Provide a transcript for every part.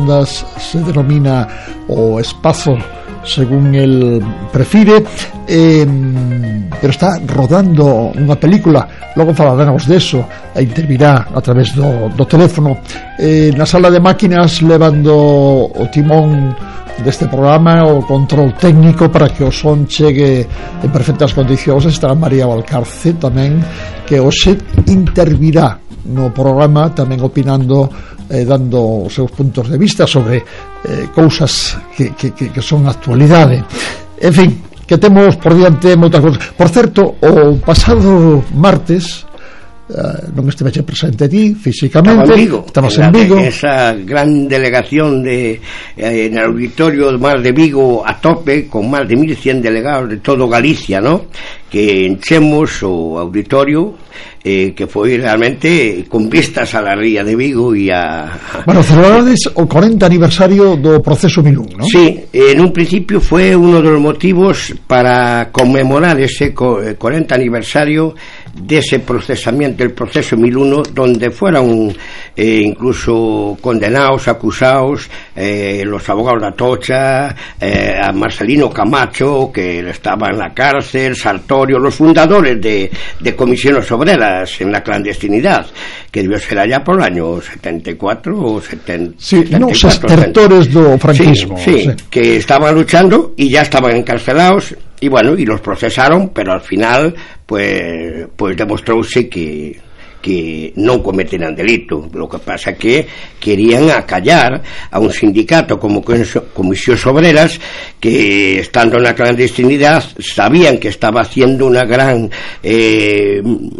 bandas se denomina o espazo según el prefire, pero está rodando unha película, logo falaremos deso, e intervirá a través do teléfono. Na sala de máquinas levando o timón deste programa, o control técnico para que o son chegue en perfectas condicións, estará María Valcarce tamén, que hoxe intervirá no programa tamén opinando, dando os seus puntos de vista sobre cousas que son actualidade. En fin, que temos por diante moitas cousas. Por certo, o pasado martes non estiveche presente ti físicamente, estabas en Vigo, esa gran delegación en el auditorio Mar de Vigo a tope, con máis de 1100 delegados de todo Galicia, ¿no? Que enchemos o auditorio, que foi realmente con vistas a la ría de Vigo e a... Bueno, celebrades o 40 aniversario do proceso Milún, ¿no? Sí, en un principio fue uno de los motivos para conmemorar ese 40 aniversario de ese procesamiento, el proceso 1001, donde fueron incluso condenados, acusados, los abogados de Atocha, a Marcelino Camacho, que estaba en la cárcel, Sartorio, los fundadores de comisiones obreras en la clandestinidad, que debió ser allá por el año 74 o 70. Sí, los estertores do franquismo. Sí, que estaban luchando y ya estaban encarcelados. Y bueno, y los procesaron, pero al final pues demostrouse que non cometeran delito. Lo que pasa que querían acallar a un sindicato como Comisiones Obreras, que estando en la clandestinidad sabían que estaba haciendo una gran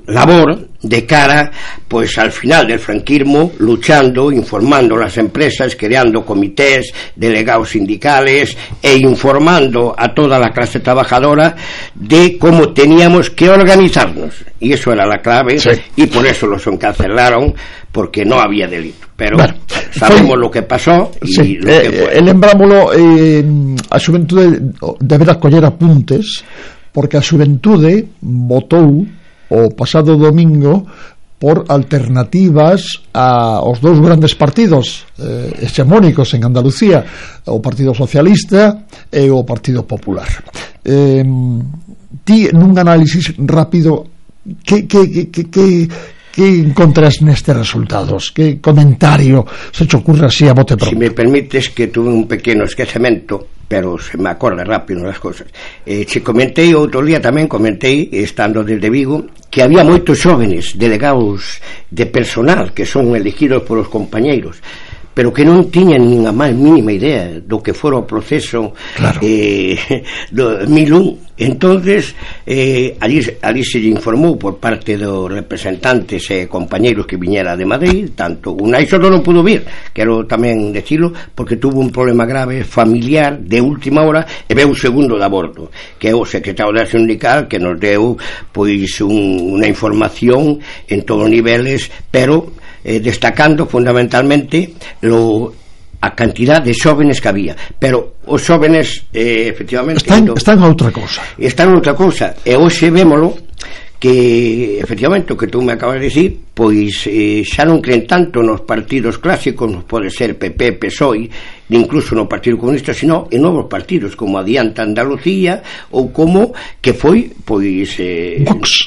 labor de cara pues al final del franquismo, luchando, informando a las empresas, creando comités, delegados sindicales e informando a toda la clase trabajadora de cómo teníamos que organizarnos, y eso era la clave. Sí. Y por eso los encarcelaron, porque no había delito. Pero bueno, sabemos lo que pasó y sí, lo que fue. Lembrámolo, a xuventude deberá coller apuntes, porque a xuventude votou o pasado domingo por alternativas aos dous grandes partidos hexemónicos en Andalucía, o Partido Socialista e o Partido Popular. Ti, nun análisis rápido, que encontras nestes resultados? Que comentario se te ocurre así a bote pronto? Si me permites, que tuve un pequeno esquecemento, pero se me acorda rápido das cosas. Se comentei outro día, tamén comentei, estando desde Vigo, que había moitos xóvenes delegados de personal que son elegidos polos compañeiros, pero que non tiñan nin a máis mínima idea do que fora o proceso. Claro. Do 1001. Entonces allí se lle informou por parte dos representantes e compañeiros que viñera de Madrid. Tanto Unai solo non pudo vir, quero tamén decirlo, porque tuvo un problema grave familiar de última hora e veu o segundo de aborto, que é o secretario da sindical, que nos deu pois unha información en todos os niveles, pero destacando fundamentalmente a cantidad de xóvenes que había. Pero os xóvenes efectivamente están a outra cousa. Están a outra cousa. E hoxe vémolo que efectivamente o que tú me acabas de decir, pois xa non creen tanto nos partidos clásicos, nos pode ser PP, PSOE, incluso no Partido Comunista, sino en novos partidos como Adianta Andalucía, ou como que foi pois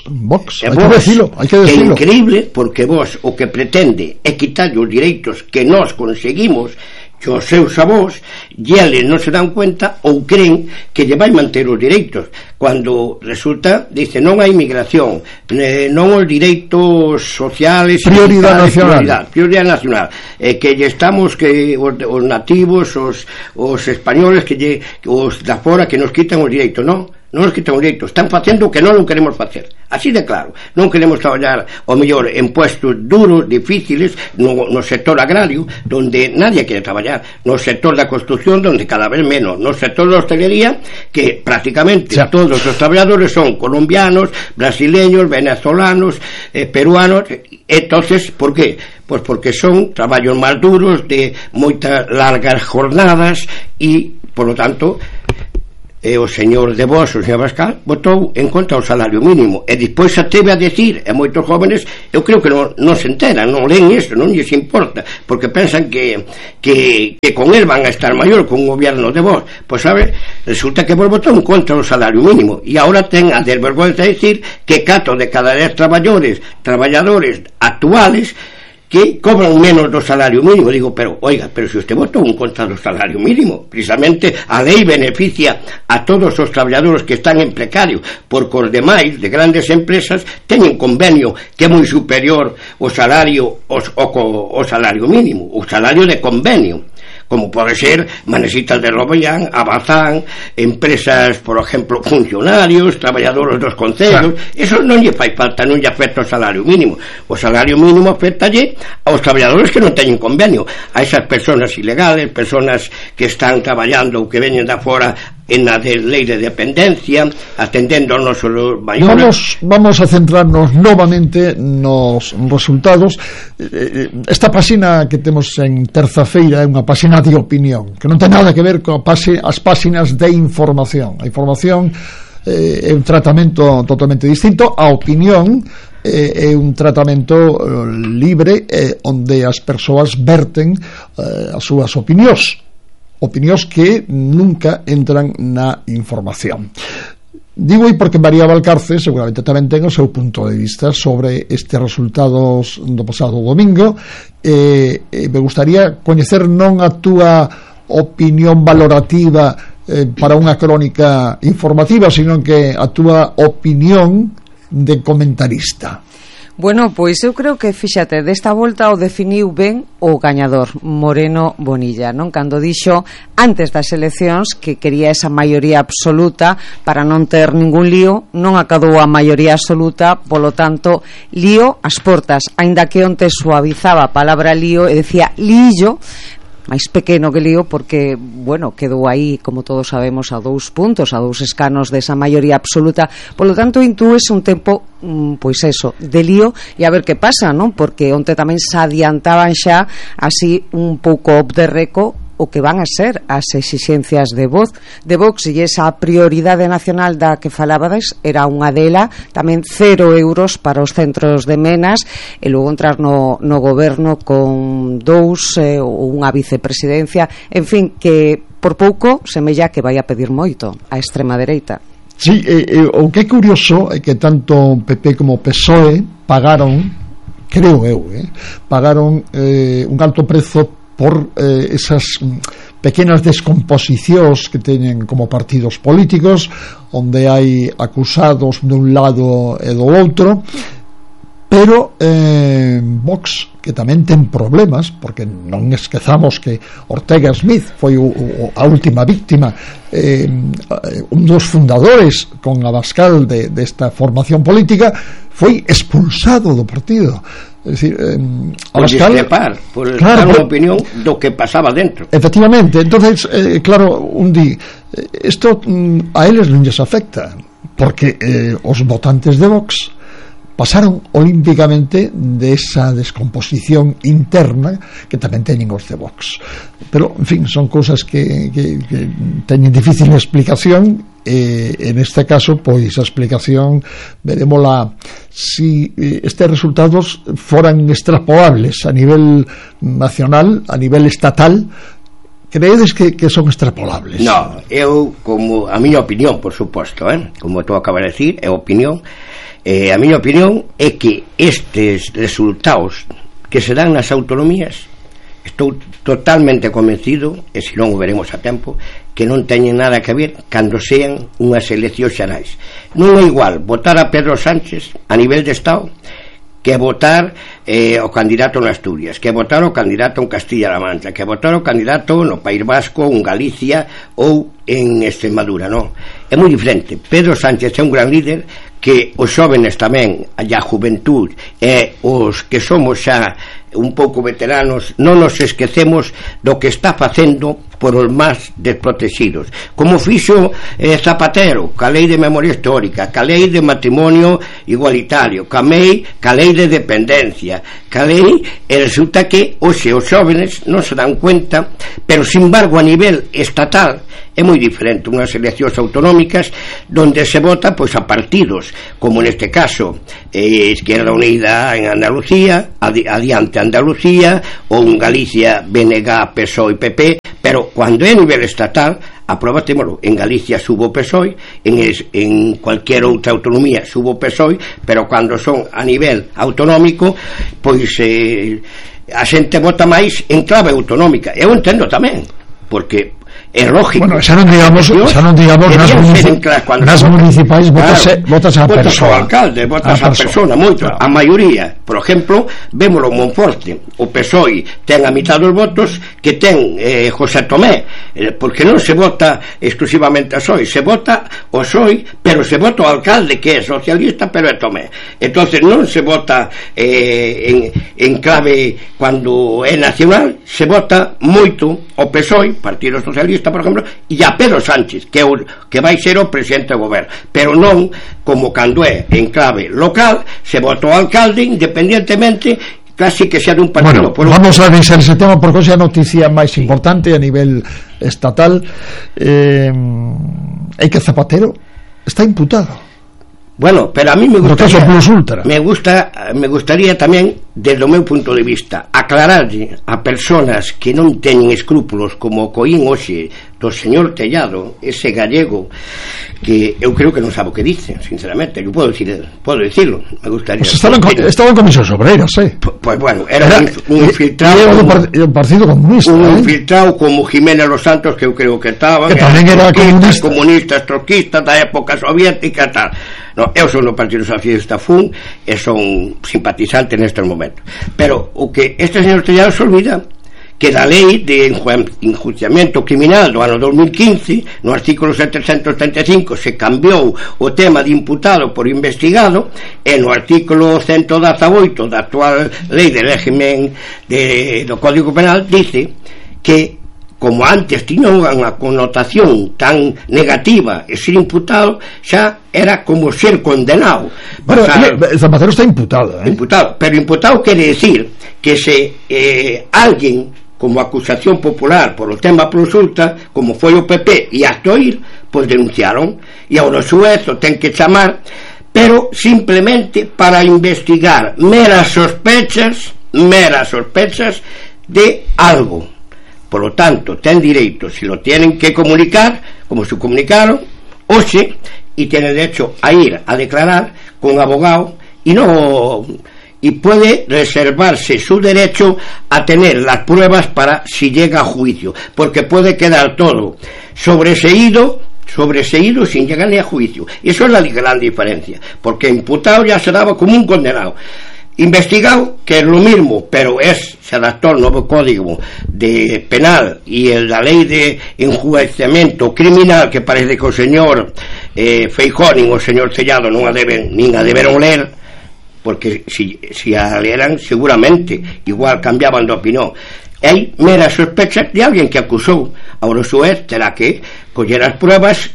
Vox, hai que decirlo. Que é increíble, porque vos o que pretende é quitar os direitos que nós conseguimos os seus avós, e eles non se dan cuenta ou creen que lle vai manter os direitos, cando resulta, dice, non hai migración, non os direitos sociales, prioridade nacional, que lle estamos, que os nativos, os españoles, que os da fora, que nos quitan os direitos. Non nos quitan os direitos, están facendo o que non queremos facer, así de claro. Non queremos traballar o mellor en puestos duros, difíciles, no sector agrario, donde nadie quere traballar, no sector da construcción, donde cada vez menos, no sector da hostelería, que prácticamente todos os traballadores son colombianos, brasileños, venezolanos, peruanos. Entonces, ¿por qué? Pues porque son traballos máis duros, de moitas largas jornadas, e, por lo tanto, o señor de Vos, o señor Abascal, votou en contra do salario mínimo, e despois se atreve a decir, e moitos jóvenes eu creo que non se enteran, non leen isto, non lles importa, porque pensan que con el van a estar maior, con un gobierno de Vos. Pois sabe, resulta que Vos votou en contra do salario mínimo, e agora ten a desvergonza de decir que 4 de cada 10 traballadores actuales que cobran menos do salario mínimo. Digo, pero se usted votou en contra do salario mínimo, precisamente a lei beneficia a todos os traballadores que están en precario, porque os demais de grandes empresas teñen convenio que é moi superior o salario o salario mínimo, o salario de convenio, como pode ser Manesitas de Robellán, Abazán, empresas, por exemplo, funcionarios, traballadores dos concellos. Eso non lle fai falta, non lle afecta o salario mínimo. O salario mínimo afectalle aos traballadores que non teñen convenio, a esas personas ilegales, personas que están traballando ou que veñen da fora en a lei de dependencia, atendendo aos nosos maiores. Vamos a centrarnos novamente nos resultados. Esta páxina que temos en Terza-feira é unha páxina de opinión, que non ten nada que ver con as páxinas de información. A información é un tratamento totalmente distinto. A opinión é un tratamento libre, onde as persoas verten as súas opinións que nunca entran na información. Digo porque María Valcarce seguramente tamén ten o seu punto de vista sobre estes resultados do pasado domingo. Me gustaría coñecer non a túa opinión valorativa para unha crónica informativa, sino que a túa opinión de comentarista. Bueno, pois eu creo que, fíxate, desta volta o definiu ben o gañador, Moreno Bonilla, non? Cando dixo antes das eleccións que quería esa maioría absoluta para non ter ningún lío, non acadou a maioría absoluta, polo tanto, lío ás portas, aínda que onte suavizaba a palabra lío e decía lío, máis pequeno que lío, porque, bueno, quedou aí, como todos sabemos, a 2 puntos, a 2 escanos desa maioría absoluta. Polo tanto, intúes un tempo, pois eso, de lío, e a ver que pasa, non? Porque onte tamén se adiantaban xa así un pouco off the record o que van a ser as exixencias de Vox, e esa prioridade nacional da que falabades era unha dela, tamén 0 euros para os centros de menas, e logo entrar no goberno con 2 ou unha vicepresidencia, en fin, que por pouco semella que vai a pedir moito a extrema dereita. Sí, o que é curioso é que tanto PP como PSOE pagaron, creo eu, pagaron un alto prezo por esas pequenas descomposicións que teñen como partidos políticos, onde hai acusados dun lado e do outro, pero Vox, que tamén ten problemas, porque non esquezamos que Ortega Smith foi a última víctima, un dos fundadores con Abascal desta formación política, foi expulsado do partido. É dicir, Abascal, por dar unha opinión do que pasaba dentro. Efectivamente, entonces claro, isto a eles non lles afecta, porque os votantes de Vox pasaron olímpicamente desa descomposición interna que tamén teñen os de Vox. Pero, en fin, son cousas que teñen difícil explicación, e en este caso, pois a explicación veremosla si estes resultados foran extrapolables a nivel nacional, a nivel estatal. Creedes que son extrapolables? No, eu, como a miña opinión, por suposto, como tú acabas de decir, é opinión. A miña opinión é que estes resultados que se dan nas autonomías, estou totalmente convencido, e se non o veremos a tempo, que non teñen nada que ver cando sean unhas eleccións xerais. Non é igual votar a Pedro Sánchez a nivel de Estado que votar o candidato en Asturias, que votar o candidato en Castilla-La Mancha, que votar o candidato no País Vasco, en Galicia ou en Extremadura. Non, é moi diferente. Pedro Sánchez é un gran líder que os xóvenes tamén, a juventud e os que somos xa un pouco veteranos non nos esquecemos do que está facendo por os máis desprotegidos, como fixo Zapatero ca lei de memoria histórica, ca lei de matrimonio igualitario, ca lei de dependencia, ca lei, e resulta que hoxe os xóvenes non se dan cuenta, pero sin embargo a nivel estatal é moi diferente unhas eleccións autonómicas donde se vota pois a partidos como neste caso Izquierda Unida en Andalucía, Adiante Andalucía, ou en Galicia BNG, PSOE e PP, pero cando é a nivel estatal aprobatémolo. En Galicia subo PSOE, en cualquier outra autonomía subo PSOE, pero cando son a nivel autonómico pois a xente vota máis en clave autonómica. Eu entendo tamén, porque é lógico. Bueno, xa non digamos nas municipais votas a persoa. Ao alcalde, votas a persona, moito. Claro. A maioría, por exemplo, vémolo en Monforte. O PSOE ten a mitad dos votos que ten José Tomé, porque non se vota exclusivamente a PSOE, se vota o PSOE, pero se vota o alcalde que é socialista, pero é Tomé. Entonces non se vota en clave cando é nacional, se vota moito o PSOE, Partido Socialista, por exemplo, e a Pedro Sánchez, que vai ser o presidente do goberno, pero non como cando é en clave local, se vota o alcalde independentemente casi que sea de un partido. Bueno, vamos a revisar ese tema porque hoxe a noticia máis importante a nivel estatal é que Zapatero está imputado. Bueno, pero a mí me gustaría tamén, desde o meu punto de vista, aclararlle a personas que non teñen escrúpulos como coín hoxe do señor Tellado, ese gallego que eu creo que non sabe o que dice, sinceramente. Eu podo decirlo, me gustaría. Pues estaba en Comisiones Obreiras, Pues bueno, era un infiltrado do Partido Comunista, un infiltrado como Jiménez Los Santos, que eu creo que estaba, que tamén era comunistas, troquistas da época soviética e tal. No, eu son do Partido Socialista FUN e son simpatizante nestes momentos, pero o que este señor Tellado se olvida que da lei de enjuiciamento criminal do ano 2015, no artículo 735 se cambiou o tema de imputado por investigado, e no artículo 118 da actual lei de régimen do Código Penal dice que como antes tiña unha connotación tan negativa e ser imputado xa era como ser condenado. Bueno, Zapatero está imputado, pero imputado quere decir que se alguén como acusación popular por o tema consulta, como foi o PP e hasta oír, pois denunciaron, e agora o xuez o ten que chamar, pero simplemente para investigar meras sospechas de algo. Por lo tanto, ten dereito, si lo tienen que comunicar, como se comunicaron, hoxe, y tiene derecho a ir a declarar con abogado, y puede reservarse su derecho a tener las pruebas para si llega a juicio, porque puede quedar todo sobreseído sin llegar ni a juicio. Y eso es la gran diferencia, porque imputado ya se daba como un condenado. Investigado, que es lo mismo, pero se adaptó al nuevo código de penal y la ley de enjuiciamiento criminal, que parece que o señor Feijóo nin o señor Tellado nin a deberon ler, porque si a leran seguramente igual cambiaban de opinión. Hai meras sospechas de alguén que acusou. Ahora o xuez terá que coller as pruebas,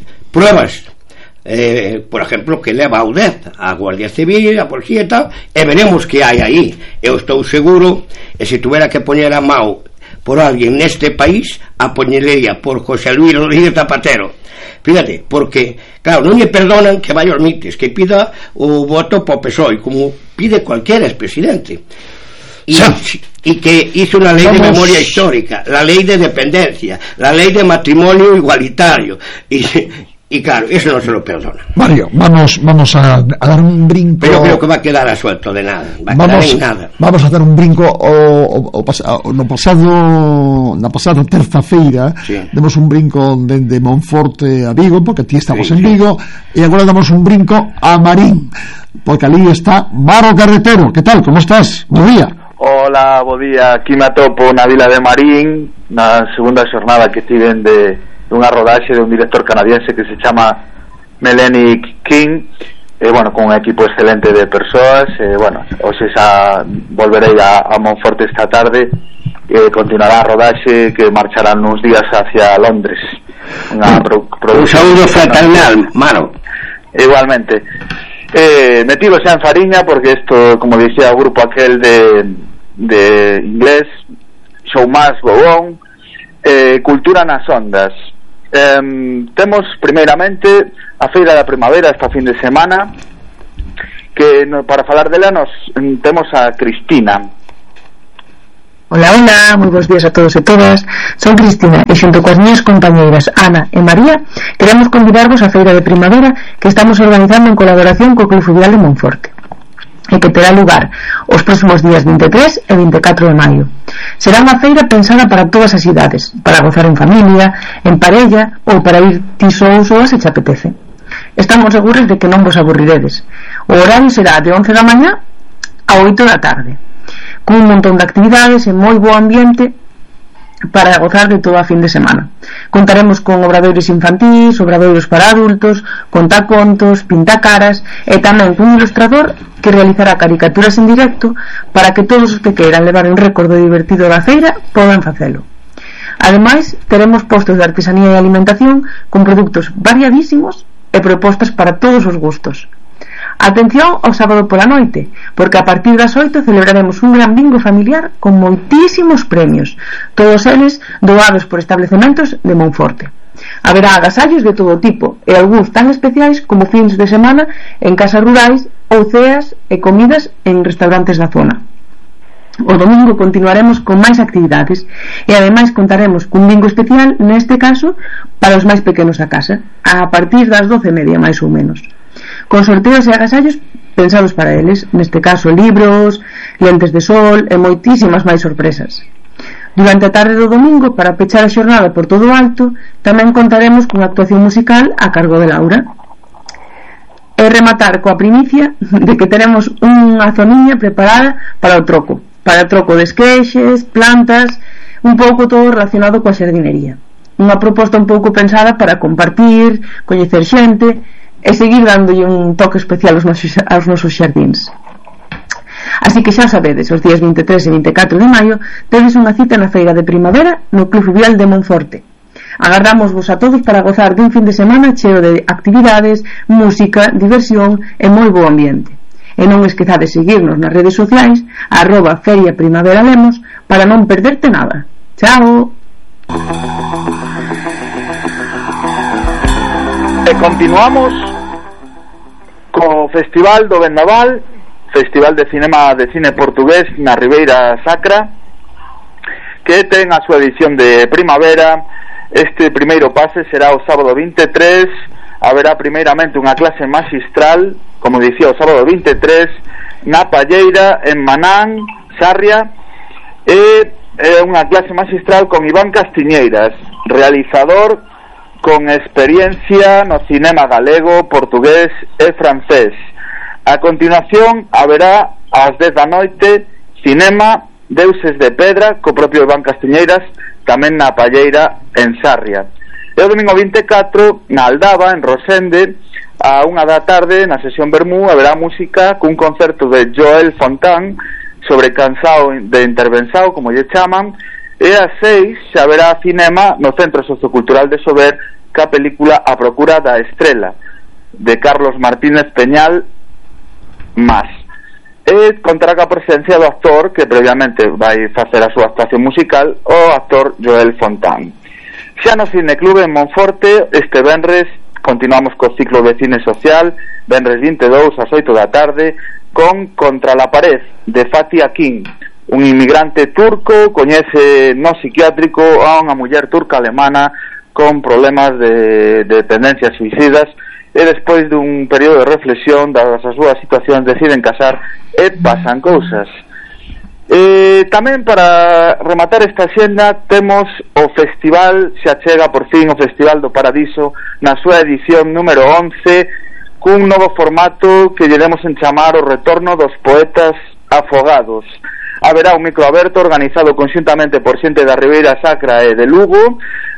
por ejemplo, que leva a UDEZ, a Guardia Civil, a Policía e tal, e veremos que hai aí. Eu estou seguro, e se tuviera que poñer a mão por alguén neste país, a poñería por José Luis Rodríguez Zapatero. Fíjate, porque claro, non lle perdonan que vai aos mites, que pida o voto para o PSOE, como pide cualquier expresidente, y que hizo una ley de memoria histórica, la ley de dependencia, la ley de matrimonio igualitario, y claro, eso no se lo perdona. Mario, vamos a dar un brinco. Pero creo que va a quedar a suelto de nada. Vamos a dar un brinco na pasada terza-feira. Sí. Demos un brinco de Monforte a Vigo, porque ti estamos en Vigo, e agora damos un brinco a Marín, porque ali está Maro Carretero. Que tal, como estás? Bo día. Hola, bo día. Aquí me atopo na vila de Marín, na segunda xornada que tiven de unha rodaxe de un director canadiense que se chama Melanie King. bueno, con un equipo excelente de persoas, bueno, hoxe xa volverei a Monforte esta tarde, continuará a rodaxe que marcharán uns días hacia Londres. Un saúdo fraternal, mano. Igualmente. Metido xa en Fariña, porque isto, como dicía o grupo aquel de inglés, Show Must Go On, cultura nas ondas. Temos primeiramente a Feira da Primavera esta fin de semana, que para falar dela temos a Cristina. Hola, hola, moi bons días a todos e todas. Son Cristina e xunto coas miñas compañeiras Ana e María queremos convidarvos á Feira de Primavera que estamos organizando en colaboración co Club Fluvial de Monforte e que terá lugar os próximos días 23 e 24 de maio. Será unha feira pensada para todas as idades, para gozar en familia, en parella ou para ir ti só ou soa se te apetece. Estamos seguros de que non vos aburriredes. O horario será de 11 da mañá a 8 da tarde, con un montón de actividades e moi bo ambiente para gozar de toda a fin de semana. Contaremos con obradoiros infantís, obradoiros para adultos, contacontos, pintacaras e tamén cun ilustrador que realizará caricaturas en directo para que todos os que queiran levar un recordo divertido da feira podan facelo. Ademais, teremos postos de artesanía e alimentación con produtos variadísimos e propostas para todos os gustos. Atención ao sábado pola noite, porque a partir das 8 celebraremos un gran bingo familiar con moitísimos premios, todos eles doados por establecementos de Monforte. Haberá agasallos de todo tipo e algúns tan especiais como fins de semana en casas rurais ou ceas e comidas en restaurantes da zona. O domingo continuaremos con máis actividades e ademais contaremos cun bingo especial, neste caso para os máis pequenos da casa, a partir das 12:30 máis ou menos, con sorteos e agasallos pensados para eles, neste caso libros, lentes de sol e moitísimas máis sorpresas. Durante a tarde do domingo, para pechar a xornada por todo o alto, tamén contaremos cunha actuación musical a cargo de Laura. E rematar coa primicia de que teremos unha zoniña preparada para o troco de esqueixes, plantas, un pouco todo relacionado coa xardinería. Unha proposta un pouco pensada para compartir, coñecer xente e seguir dándolle un toque especial aos nosos xardíns. Así que xa sabedes, os días 23 e 24 de maio tedes unha cita na Feira de Primavera no Club Fluvial de Monforte. Agardamos-vos a todos para gozar dun fin de semana cheo de actividades, música, diversión e moi bo ambiente. E non esquezades seguirnos nas redes sociais @feriaprimaveralemos para non perderte nada. Chao. E continuamos co Festival do Vendaval, Festival de Cine portugués na Ribeira Sacra, que ten a súa edición de primavera. Este primeiro pase será o sábado 23. Haberá primeiramente unha clase magistral, como dicía, o sábado 23 na Palleira, en Manán, Sarria, e unha clase magistral con Iván Castiñeiras, realizador con experiencia no cinema galego, portugués e francés. A continuación haberá ás 10 da noite cinema Deuses de Pedra co propio Iván Castiñeiras, tamén na Palleira, en Sarria. E o domingo 24 na Aldaba, en Rosende, a 1 da tarde na sesión Bermú haberá música cun concerto de Joel Fontán sobre cansao de intervensao, como lle chaman, e a 6 xa haberá cinema no Centro Sociocultural de Sober ca película A Procura da Estrela de Carlos Martínez Peñal Más, e contará ca presencia do actor que previamente vai facer a súa actuación musical, o actor Joel Fontán. Xa no Cineclube en Monforte, este venres continuamos co ciclo de cine social, venres 22 ás 8 da tarde, con Contra la pared, de Fatih Akin, un inmigrante turco coñece no psiquiátrico a unha muller turca alemana con problemas de tendencias suicidas, e despois dun período de reflexión das as súas situacións deciden casar e pasan cousas. Tamén para rematar esta xenda temos o festival, xa chega por fin o Festival do Paradiso na súa edición número 11, cun novo formato que lle demos en chamar o retorno dos poetas afogados. Haberá un micro aberto organizado conxuntamente por xente da Ribeira Sacra e de Lugo,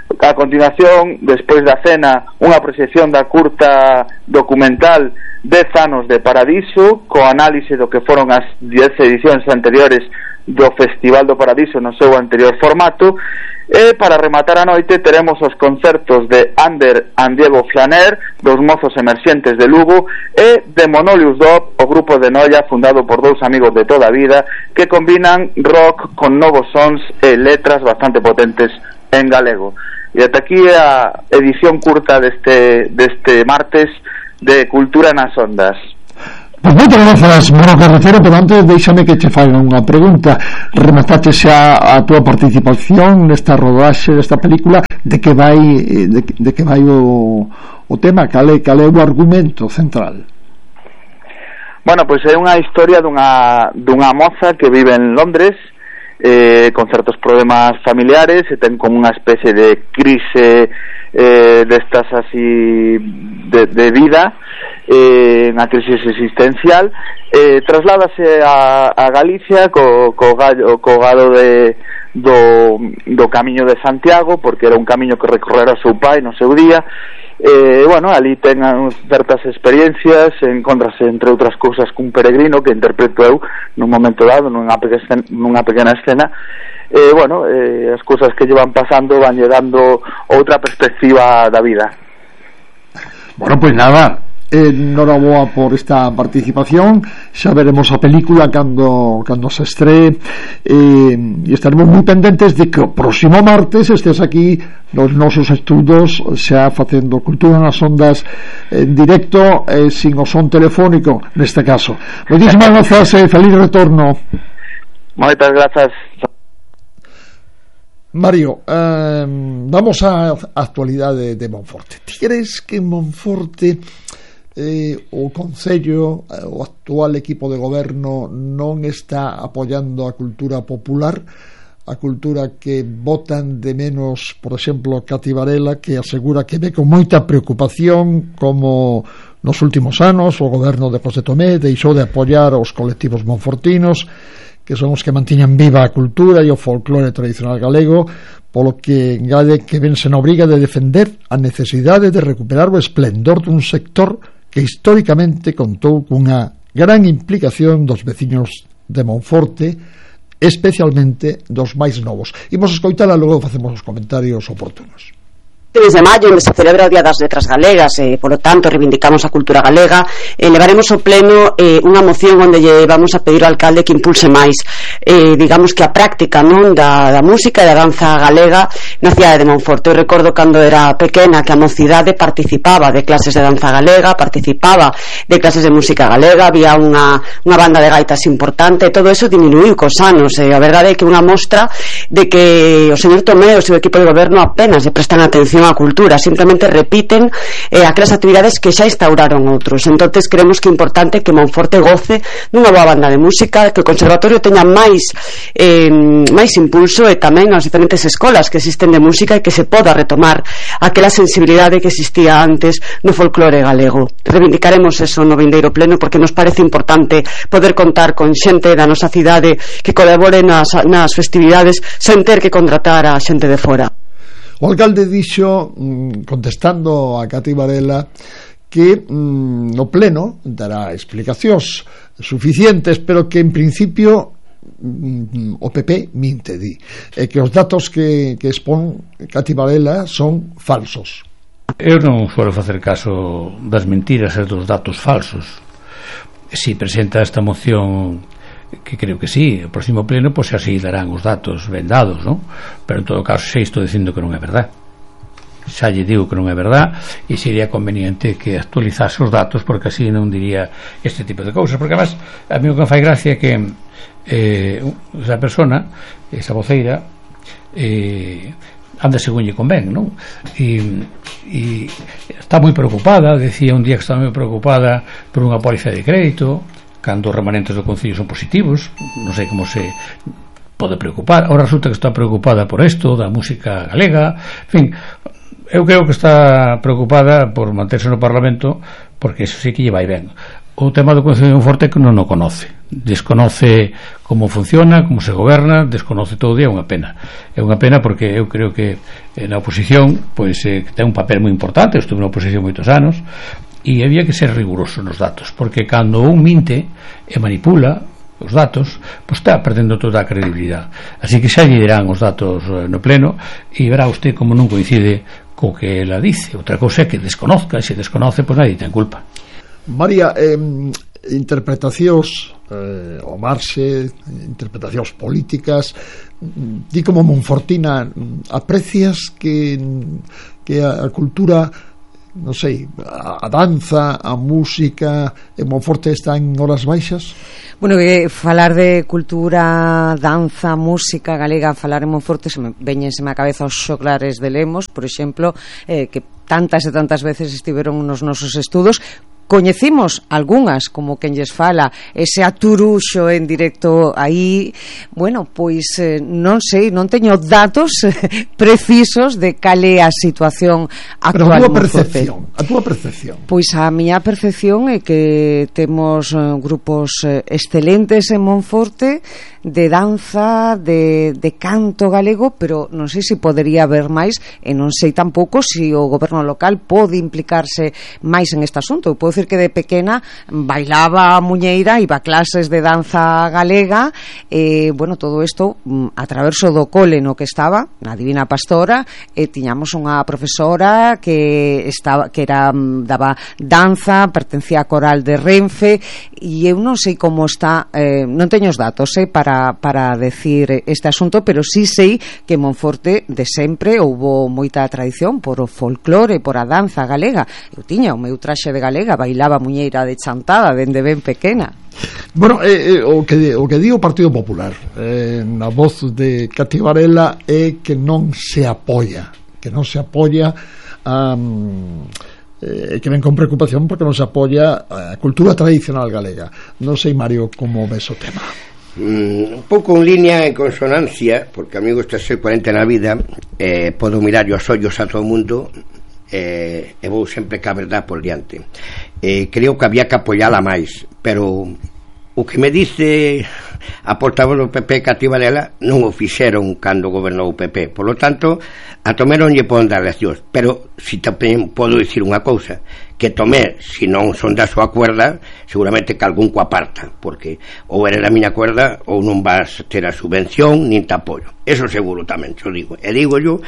A continuación, despois da cena, unha proxección da curta documental 10 anos de Paradiso, co análise do que foron as 10 edicións anteriores do Festival do Paradiso no seu anterior formato. E para rematar a noite teremos os concertos de Ander and Diego Flaner, dos Mozos Emerxentes de Lugo, e de Monolius Dub, o grupo de Noia fundado por dous amigos de toda a vida que combinan rock con novos sons e letras bastante potentes en galego. E ata aquí a edición curta deste martes de Cultura nas Ondas. Pois moitas grazas, Moro Carretero, pero antes deixame que te faga unha pregunta. Remataste xa a túa participación nesta rodaxe desta película, de que vai o tema, cal é o argumento central? Bueno, pois é unha historia dunha moza que vive en Londres, con certos problemas familiares, e ten como unha especie de crise destas así de vida, unha crisis existencial, trasládase a Galicia co gado do Camiño de Santiago, porque era un camiño que recorrera o seu pai no seu día. Bueno, ali ten certas experiencias, encontrase entre outras cousas cun peregrino que interpreto eu nun momento dado nunha pequena escena. Bueno, as cousas que llevan pasando van lle dando outra perspectiva da vida. Bueno, pois nada, enhoraboa por esta participación. Xa veremos a película cando se estree, e estaremos moi pendentes de que o próximo martes estés aquí nos nosos estudos xa facendo Cultura nas Ondas en directo, sin o son telefónico neste caso. Moitísimas grazas e feliz retorno. Moitas grazas. Mario, vamos á actualidade de Monforte. Ti crees que en Monforte o Concello, o actual equipo de goberno, non está apoiando a cultura popular, a cultura que botan de menos, por exemplo, Cati Varela, que asegura que ve con moita preocupación como nos últimos anos o goberno de José Tomé deixou de apoiar os colectivos monfortinos, que son os que mantiñan viva a cultura e o folclore tradicional galego, polo que engade que vense na obriga de defender a necesidade de recuperar o esplendor dun sector que históricamente contou cunha gran implicación dos veciños de Monforte, especialmente dos máis novos. Imos escoitala, logo facemos os comentarios oportunos. Desde maio, onde se celebra o Día das Letras Galegas, polo tanto reivindicamos a cultura galega, levaremos ao pleno unha moción onde lle vamos a pedir ao alcalde que impulse máis, digamos que a práctica, non, da música e da danza galega na cidade de Monforte. Eu recordo cando era pequena que a mocidade participaba de clases de danza galega, participaba de clases de música galega, había unha banda de gaitas importante, e todo eso diminuiu cos anos. A verdade é que unha mostra de que o señor Tomé e o seu equipo de goberno apenas lle prestan atención a cultura, simplemente repiten aquelas actividades que xa instauraron outros. Entonces creemos que é importante que Monforte goce dunha boa banda de música, que o conservatorio teña máis impulso, e tamén as diferentes escolas que existen de música, e que se poda retomar aquela sensibilidade que existía antes no folclore galego. Reivindicaremos eso no vindeiro pleno, porque nos parece importante poder contar con xente da nosa cidade que colabore nas festividades sen ter que contratar a xente de fora. O alcalde dixo, contestando a Cati Varela, que no pleno dará explicacións suficientes, pero que en principio o PP minte, di, e que os datos que expón Cati Varela son falsos. Eu non foro facer caso das mentiras e dos datos falsos. Si presenta esta moción, que creo que sí, o próximo pleno, pois así darán os datos ben dados, non? Pero en todo caso xa estou dicindo que non é verdad, xa lle digo que non é verdad, e sería conveniente que actualizase os datos, porque así non diría este tipo de cousas. Porque además a mí o que me fai gracia é que esa persona, esa voceira, anda según lle convén, non? E está moi preocupada, decía un día que está moi preocupada por unha póliza de crédito, cando os remanentes do Concello son positivos. Non sei como se pode preocupar. Ahora resulta que está preocupada por isto da música galega. En fin, eu creo que está preocupada por manterse no Parlamento, porque eso sí que lle vai ben. O tema do Concello de Monforte que non o conoce, desconoce como funciona, como se goberna, desconoce todo, e é unha pena porque eu creo que na oposición pois ten un papel moi importante. Eu estuve na oposición moitos anos e había que ser riguroso nos datos, porque cando un minte e manipula os datos, pois está perdendo toda a credibilidade. Así que xa lle dirán os datos no pleno e verá usted como non coincide co que ela dice. Outra cousa é que desconozca, e se desconoce, pois nadie ten culpa. María, interpretacións ao marxe, interpretacións políticas, di como monfortina, aprecias que a cultura, non sei, a danza, a música en Monforte está en horas baixas? Bueno, falar de cultura, danza, música galega, falar en Monforte, veñenseme a cabeza os xoglares de Lemos, por exemplo, que tantas e tantas veces estiveron nos nosos estudos. Coñecimos algunhas, como quen lles fala, ese aturuxo en directo aí. Bueno, pois non sei, non teño datos precisos de cal é a situación actual. Pero a túa percepción. Pois a miña percepción é que temos grupos excelentes en Monforte, de danza, de canto galego, pero non sei se podería haber máis, e non sei tampouco se o goberno local pode implicarse máis en este asunto. Eu podo dicir que de pequena bailaba a muñeira, iba a clases de danza galega, bueno, todo isto a traverso do cole no que estaba, na Divina Pastora, e tiñamos unha profesora que daba danza, pertencía a coral de Renfe, e eu non sei como está, non teño os datos para decir este asunto, pero sí sei que en Monforte de sempre houbo moita tradición por o folclore, por a danza galega. Eu tiña o meu traxe de galega, bailaba muñeira de chantada dende ben pequena. Bueno, o que di o Partido Popular na voz de Cati Varela é que non se apoia que ven con preocupación porque non se apoia a cultura tradicional galega. Non sei, Mario, como ves o tema. Un pouco en línea, en consonancia, porque a mí gusta ser coherente na vida, podo mirar os ollos a todo o mundo, e vou sempre ca verdad por diante. Creo que había que apoiala máis, pero o que me dice a portavoz do PP, Cati Varela, non o fixeron cando gobernou o PP, por lo tanto a Tomé non lle poden dar leccións. Pero si tamén podo dicir unha cousa, que Tomé, se non son da súa cuerda, seguramente que algún co aparta, porque ou eres da miña cuerda ou non vas ter a subvención nin te apoio. Eso seguro tamén, xo digo. E digo yo,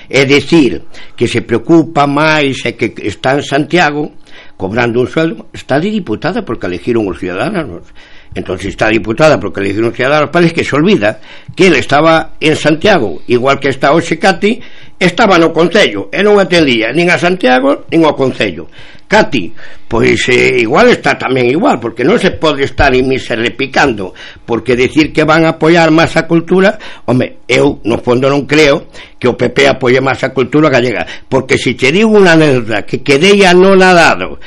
é dicir que se preocupa máis e que está en Santiago cobrando un sueldo. Está de diputada porque elegiron os ciudadanos. Entonces está diputada porque elegiron os ciudadanos, parece que se olvida que ele estaba en Santiago, igual que está hoxe Cati, estaba no Concello e non atendía nin a Santiago nin ao Concello. Cati, pois igual está tamén igual, porque non se pode estar repicando, porque decir que van a apoiar máis a cultura, home, eu no fondo non creo que o PP apoie máis a cultura gallega, porque se te digo unha anécdota que quedei anonadado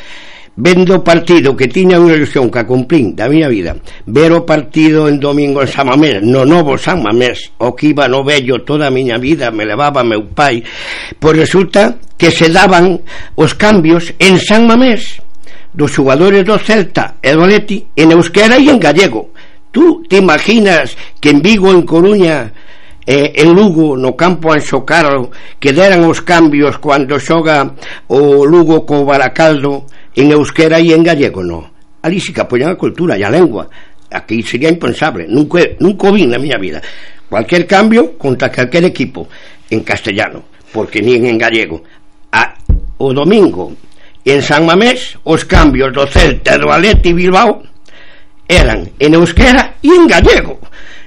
vendo o partido que tiña unha ilusión que a cumplín da miña vida, ver o partido en domingo en San Mamés, no novo San Mamés, o que iba no vello toda a miña vida, me levaba meu pai, pois resulta que se daban os cambios en San Mamés dos xogadores do Celta e do Atleti en euskera e en gallego. Tú te imaginas que en Vigo, en Coruña, en Lugo, no campo Anxo Carro, que deran os cambios cando xoga o Lugo co Baracaldo en euskera e en gallego? No, ali sí que apoian a cultura e a lengua. Aquí sería impensable, nunca o vi na miña vida. Cualquier cambio contra cualquier equipo en castellano, porque nin en gallego. O domingo en San Mamés os cambios do Celta, do Atleti Bilbao eran en euskera e en gallego.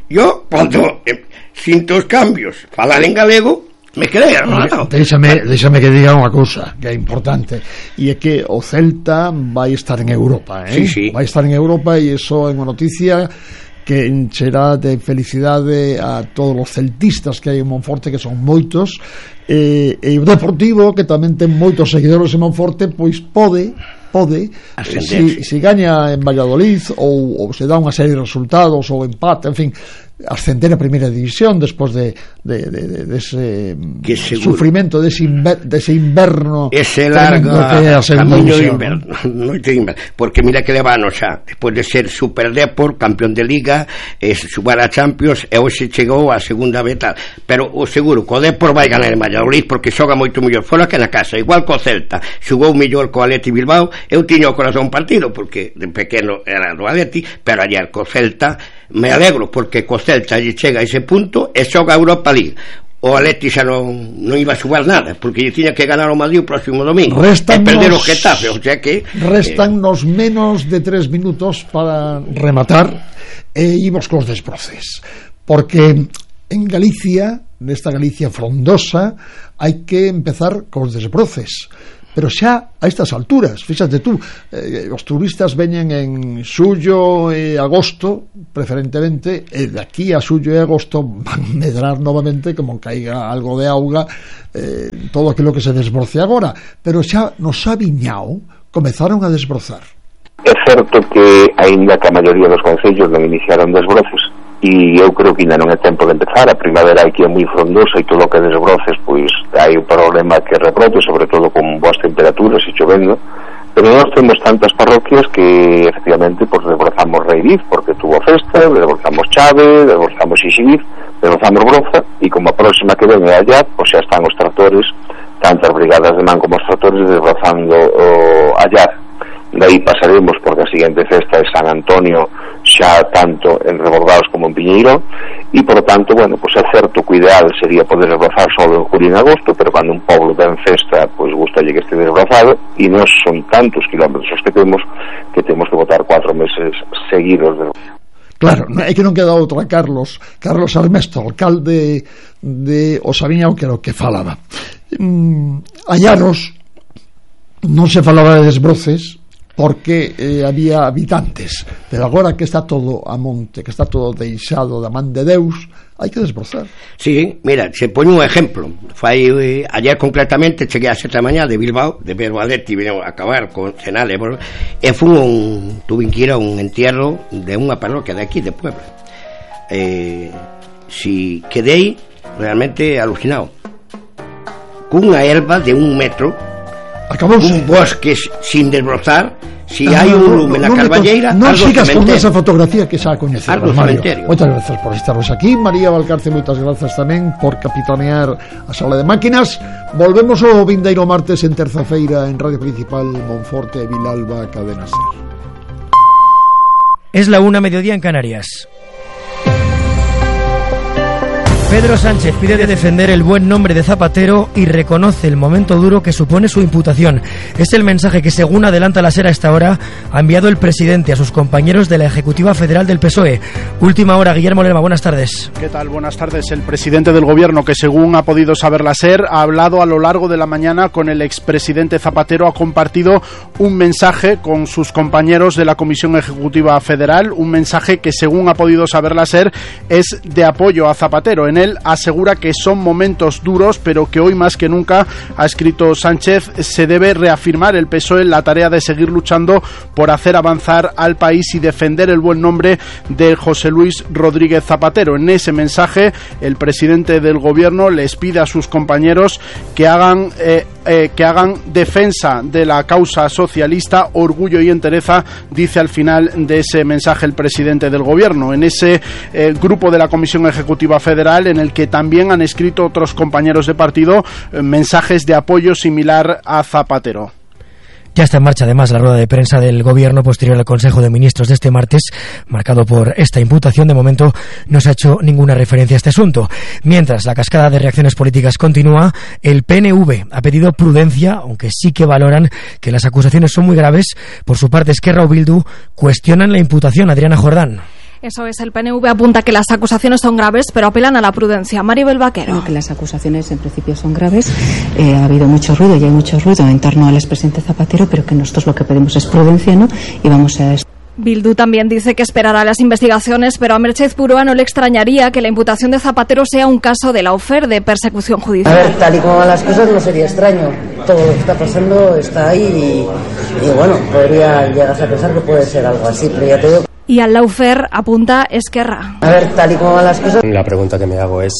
Yo, cuando sinto os cambios falar en galego, me quedei armado. Déxame que diga unha cousa que é importante, e é que o Celta vai estar en Europa, sí. Vai estar en Europa, e iso é unha noticia que encherá de felicidade a todos os celtistas que hai en Monforte, que son moitos, e o Deportivo, que tamén ten moitos seguidores en Monforte, pois pode se gaña en Valladolid ou se dá unha serie de resultados ou empate, en fin, ascender a Primeira División despois de ese sufrimento, dese inverno, ese largo camiño de inverno, porque mira que levanos xa despois de ser Super Depor, campeón de Liga, xugar a Champions, e hoxe chegou a segunda beta, pero o seguro que o Depor vai ganar en Valladolid porque xoga moito mellor fora que na casa, igual co Celta, xugou mellor co Atleti Bilbao. Eu tiña o corazón partido porque de pequeno era do Atleti, pero ayer co Celta me alegro porque co Celta lle chega a ese punto e xoga a Europa League. O Atleti xa non iba a xugar nada porque lle tiña que ganar o Madrid o próximo domingo e perder o Getafe, o sea que restannos menos de 3 minutos para rematar e imos cos desbroces, porque en Galicia, nesta Galicia frondosa, hai que empezar cos desbroces. Pero xa a estas alturas, fíxate tú, os turistas veñen en xullo e agosto preferentemente, e de aquí a xullo e agosto van medrar novamente como caiga algo de auga, todo aquilo que se desbroce agora, pero xa no Sabiñao comezaron a desbrozar. É certo que aínda que a maioría dos concellos non iniciaron desbroces, e eu creo que ainda non é tempo de empezar. A primavera aquí é moi frondosa e todo o que desbroces pois hai un problema que rebrote, sobre todo con boas temperaturas e chovendo, pero nós temos tantas parroquias que efectivamente pois desbrozamos Reiriz porque tuvo festa, desbrozamos Chave, desbrozamos Xixiz, desbrozamos Broza, e como a próxima que ven é allá, pois xa están os tractores, tanto as brigadas de man como os tractores desbrozando allá. De aí pasaremos porque a seguinte festa é San Antonio, xa tanto en Rebordados como en Piñeiro, e por tanto, bueno, pois é certo que o ideal sería poder desbrozar só en julio e en agosto, pero cando un pobo ten festa, pois gustalle que este desbrozado, e non son tantos kilómetros que temos que botar 4 meses seguidos de... Claro, é que non queda outra. Carlos Armesto, alcalde de Osaviñao, que era o que falaba. Hai anos non se falaba de desbroces porque había habitantes, pero agora que está todo a monte, que está todo deixado da man de Deus, hai que desbrozar. Sí, mira, se pone un exemplo. Fai ayer concretamente cheguei a 7 da mañá de Bilbao, de ver o Atleti vino a acabar con Senale, e tuve que ir a un entierro de unha parroquia de aquí, de Puebla. Si quedei realmente alucinado. Cunha erva de 1 metro, acabouse. Un bosque sin desbrozar. Si hai un lume na Carballeira, non sigas con esa fotografía que xa coñeces, Mario. Moitas grazas por estarnos aquí. María Valcarce, moitas grazas tamén por capitanear a sala de máquinas. Volvemos o vindeiro martes en terza-feira en Radio Principal, Monforte, Vilalba, Cadena Ser. Es la 1:00 mediodía en Canarias. Pedro Sánchez pide defender el buen nombre de Zapatero y reconoce el momento duro que supone su imputación. Es el mensaje que, según adelanta la SER a esta hora, ha enviado el presidente a sus compañeros de la Ejecutiva Federal del PSOE. Última hora, Guillermo Lerma, buenas tardes. ¿Qué tal? Buenas tardes. El presidente del Gobierno, que según ha podido saber la SER, ha hablado a lo largo de la mañana con el expresidente Zapatero, ha compartido un mensaje con sus compañeros de la Comisión Ejecutiva Federal, un mensaje que, según ha podido saber la SER, es de apoyo a Zapatero. En él asegura que son momentos duros, pero que hoy más que nunca, ha escrito Sánchez, se debe reafirmar el PSOE en la tarea de seguir luchando por hacer avanzar al país y defender el buen nombre de José Luis Rodríguez Zapatero. En ese mensaje, el presidente del Gobierno les pide a sus compañeros que hagan defensa de la causa socialista, orgullo y entereza, dice al final de ese mensaje el presidente del Gobierno. En ese grupo de la Comisión Ejecutiva Federal, en el que también han escrito otros compañeros de partido mensajes de apoyo similar a Zapatero. Ya está en marcha además la rueda de prensa del Gobierno posterior al Consejo de Ministros de este martes, marcado por esta imputación. De momento no se ha hecho ninguna referencia a este asunto. Mientras la cascada de reacciones políticas continúa, el PNV ha pedido prudencia, aunque sí que valoran que las acusaciones son muy graves. Por su parte, Esquerra o Bildu cuestionan la imputación. Adriana Jordán. Eso es, el PNV apunta que las acusaciones son graves, pero apelan a la prudencia. Maribel Vaquero. Creo que las acusaciones en principio son graves. Ha habido mucho ruido y hay mucho ruido en torno al expresidente Zapatero, pero que nosotros lo que pedimos es prudencia, ¿no? Y vamos a... Bildu también dice que esperará las investigaciones, pero a Merchez Purúa no le extrañaría que la imputación de Zapatero sea un caso de lawfare, de persecución judicial. A ver, tal y como van las cosas no sería extraño. Todo lo que está pasando está ahí y bueno, podría llegar a pensar que puede ser algo así, pero ya te digo... Y al lawfare apunta Esquerra. A ver, tal y como van las cosas. La pregunta que me hago es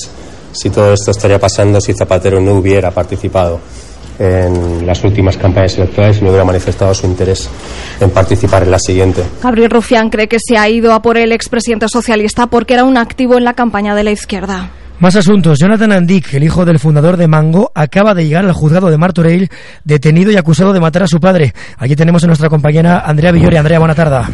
si todo esto estaría pasando si Zapatero no hubiera participado en las últimas campañas electorales y no hubiera manifestado su interés en participar en la siguiente. Gabriel Rufián cree que se ha ido a por el expresidente socialista porque era un activo en la campaña de la izquierda. Más asuntos. Jonathan Andic, el hijo del fundador de Mango, acaba de llegar al juzgado de Martorell, detenido y acusado de matar a su padre. Aquí tenemos a nuestra compañera Andrea Villori. Andrea, buena tarde.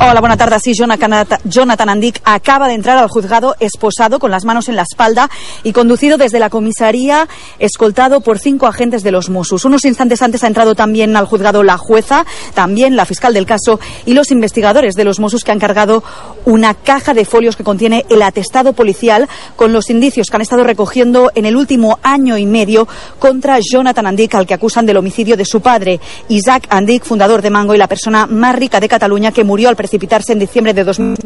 Hola, buena tarde. Sí, Jonathan Andic acaba de entrar al juzgado esposado, con las manos en la espalda y conducido desde la comisaría, escoltado por 5 agentes de los Mossos. Unos instantes antes ha entrado también al juzgado la jueza, también la fiscal del caso y los investigadores de los Mossos, que han cargado una caja de folios que contiene el atestado policial con los indicios que han estado recogiendo en el último año y medio contra Jonathan Andic, al que acusan del homicidio de su padre, Isaac Andic, fundador de Mango y la persona más rica de Cataluña, que murió al precipitarse en diciembre de 2000.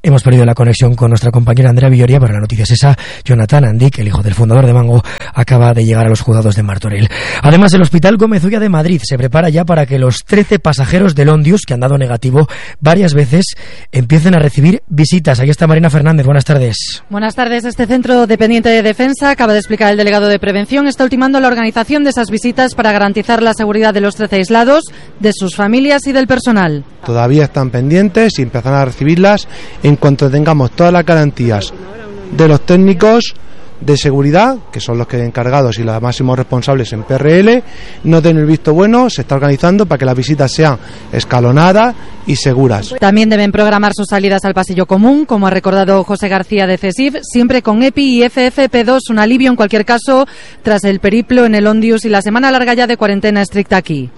Hemos perdido la conexión con nuestra compañera Andrea Villoria, pero la noticia es esa. Jonathan Andic, el hijo del fundador de Mango, acaba de llegar a los juzgados de Martorell. Además, el Hospital Gómez Ulla de Madrid se prepara ya para que los 13 pasajeros del Ondius, que han dado negativo varias veces, empiecen a recibir visitas. Ahí está Marina Fernández. Buenas tardes. Buenas tardes. Este centro dependiente de Defensa, acaba de explicar el delegado de Prevención, está ultimando la organización de esas visitas para garantizar la seguridad de los 13 aislados, de sus familias y del personal. Todavía están pendientes y empezarán a recibirlas en cuanto tengamos todas las garantías de los técnicos de seguridad, que son los que encargados y los máximos responsables en PRL, no den el visto bueno. Se está organizando para que las visitas sean escalonadas y seguras. También deben programar sus salidas al pasillo común, como ha recordado José García de CESIF, siempre con EPI y FFP2, un alivio en cualquier caso tras el periplo en el Ondius y la semana larga ya de cuarentena estricta aquí.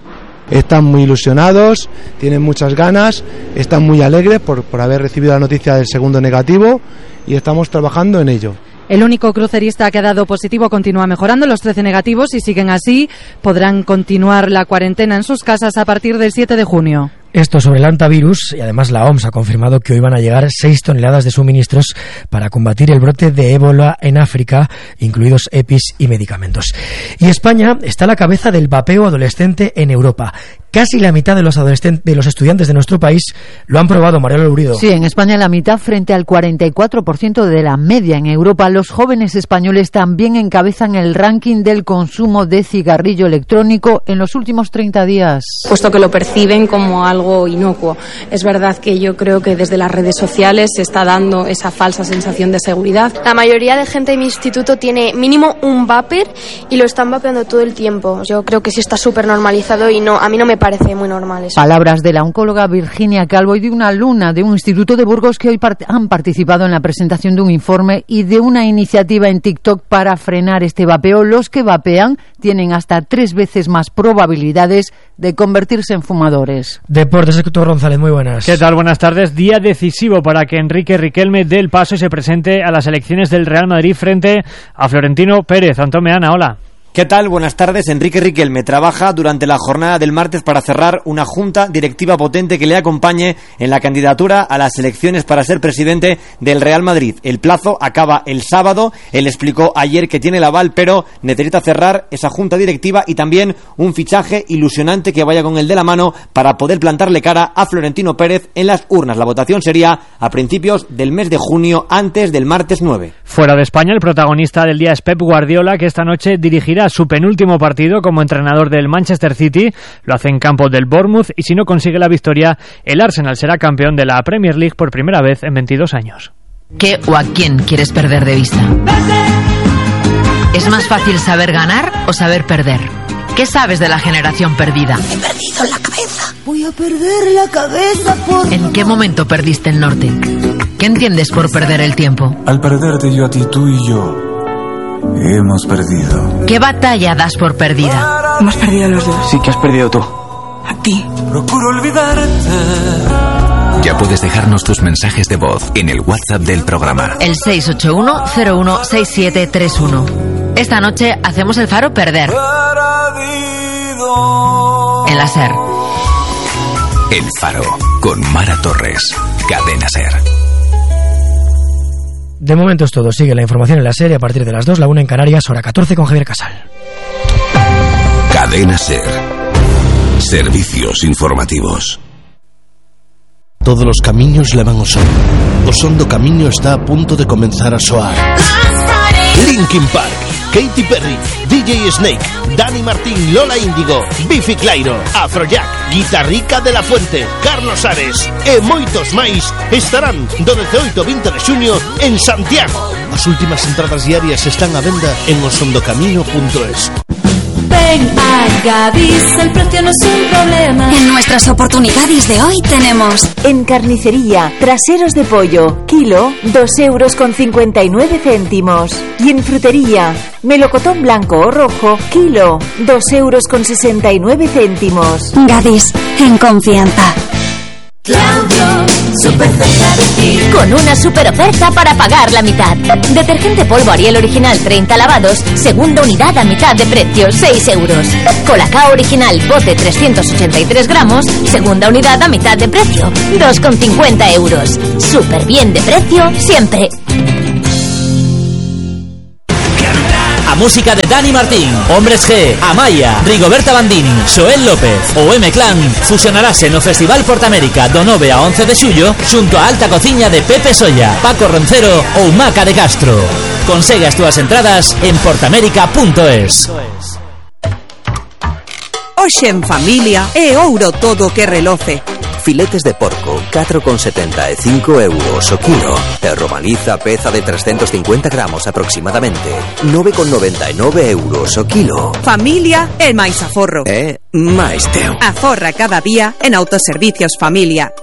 Están muy ilusionados, tienen muchas ganas, están muy alegres por haber recibido la noticia del segundo negativo y estamos trabajando en ello. El único crucerista que ha dado positivo continúa mejorando. Los 13 negativos, y siguen así, podrán continuar la cuarentena en sus casas a partir del 7 de junio. Esto sobre el hantavirus, y además la OMS ha confirmado que hoy van a llegar 6 toneladas de suministros para combatir el brote de ébola en África, incluidos EPIs y medicamentos. Y España está a la cabeza del vapeo adolescente en Europa. Casi la mitad de los estudiantes de nuestro país lo han probado, Mariela Lurido. Sí, en España la mitad frente al 44% de la media. En Europa, los jóvenes españoles también encabezan el ranking del consumo de cigarrillo electrónico en los últimos 30 días. Puesto que lo perciben como algo inocuo. Es verdad que yo creo que desde las redes sociales se está dando esa falsa sensación de seguridad. La mayoría de gente de mi instituto tiene mínimo un vapor y lo están vapeando todo el tiempo. Yo creo que sí está súper normalizado y a mí no me parece muy normal eso. Palabras de la oncóloga Virginia Calvo y de una alumna de un instituto de Burgos que hoy han participado en la presentación de un informe y de una iniciativa en TikTok para frenar este vapeo. Los que vapean tienen hasta 3 veces más probabilidades de convertirse en fumadores. Deportes, Héctor González, muy buenas. ¿Qué tal? Buenas tardes. Día decisivo para que Enrique Riquelme dé el paso y se presente a las elecciones del Real Madrid frente a Florentino Pérez. Antón Meana, hola. ¿Qué tal? Buenas tardes. Enrique Riquelme trabaja durante la jornada del martes para cerrar una junta directiva potente que le acompañe en la candidatura a las elecciones para ser presidente del Real Madrid. El plazo acaba el sábado. Él explicó ayer que tiene el aval, pero necesita cerrar esa junta directiva y también un fichaje ilusionante que vaya con el de la mano para poder plantarle cara a Florentino Pérez en las urnas. La votación sería a principios del mes de junio, antes del martes 9. Fuera de España, el protagonista del día es Pep Guardiola, que esta noche dirigirá su penúltimo partido como entrenador del Manchester City. Lo hace en campo del Bournemouth y si no consigue la victoria, el Arsenal será campeón de la Premier League por primera vez en 22 años. ¿Qué o a quién quieres perder de vista? ¿Es más fácil saber ganar o saber perder? ¿Qué sabes de la generación perdida? He perdido la cabeza. Voy a perder la cabeza por... ¿En qué momento perdiste el norte? ¿Qué entiendes por perder el tiempo? Al perderte yo a ti, tú y yo hemos perdido. ¿Qué batalla das por perdida? Hemos perdido los dos. Sí, que has perdido tú. A ti. Procuro olvidarte. Ya puedes dejarnos tus mensajes de voz en el WhatsApp del programa. El 681-016731. Esta noche hacemos el Faro perder. En la SER. El Faro, con Mara Torres. Cadena SER. De momento es todo. Sigue la información en la serie a partir de las 2, la 1 en Canarias, hora 14 con Javier Casal. Cadena SER. Servicios informativos. Todos os camiños levan ao son. O son do camiño está a punto de comenzar a soar. Linkin Park, Katy Perry, DJ Snake, Dani Martín, Lola Índigo, Biffy Clyro, Afrojack, Guitarrica de la Fuente, Carlos Ares e moitos máis estarán do 18 ao 20 de xuño en Santiago. As últimas entradas diarias están á venda en osondocamino.es. Ven a Gadis, el precio no es un problema. En nuestras oportunidades de hoy tenemos: en carnicería, traseros de pollo, kilo, 2,59 €. Y en frutería, melocotón blanco o rojo, kilo, 2,69 €. Gadis, en confianza. Claudio, super oferta de ti. Con una super oferta para pagar la mitad. Detergente polvo Ariel original 30 lavados, segunda unidad a mitad de precio, 6 €. Colacao original bote 383 gramos, segunda unidad a mitad de precio, 2,50 €. Súper bien de precio siempre. A música de Dani Martín, Hombres G, Amaya, Rigoberta Bandini, Xoel López ou M-Clan fusionarase no Festival Portamérica do 9 a 11 de xullo xunto a alta cociña de Pepe Solla, Paco Roncero ou Maca de Castro. Consegue as túas entradas en portamérica.es. Hoxe en familia é ouro todo que reloce. Filetes de porco, 4,75 € o kilo. E romaniza peza de 350 gramos aproximadamente, 9,99 € o kilo. Familia é máis aforro. É máis teu. Aforra cada día en Autoservicios Familia.